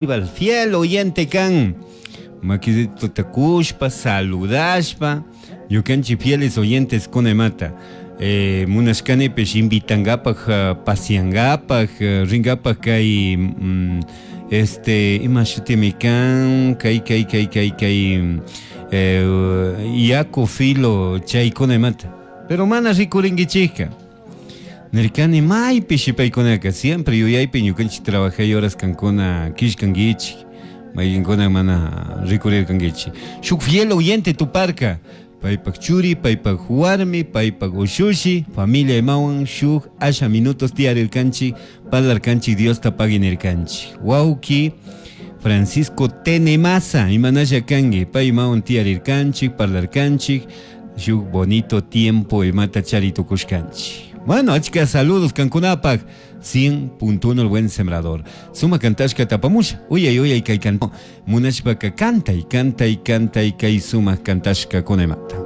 Fiel oyente kan makisituta kushpa saludashpa ñukanchik fieles oyentes kunamanta eh, munashkanipish invitangapak eh, pasiangapak eh, ringapak kay mm, este ima shutimi kan kay kay kay kay kay eh, yaku filo chaykunamanta pero mana rikurinkichikka. Nirkani maypishi paykunaka siempre yuyaypi ñukanchik trabajay horas kankuna killkankichik mayqinkuna mana rikurirkankichik. Shuk fiel oyente tuparka paypak churi, paypak warmi, paypak ushushi, familia imawan shuk asha minutos tiyarirkanchik, parlarkanchik Diosta pagui nirkanchik. Wawki Francisco Tenemasa imanalla kanki pay imawan tiyarirkanchik, parlarkanchik. Shuk bonito tiempo imata chari tukushkanchik. Bueno, achka saludos kankunapak. 100.1 el buen sembrador. Suma kantashka tapamusha. Uyay uyay kay canto. Munashpaka kantay, kantay, kantay kay suma kantashka kunaymanta.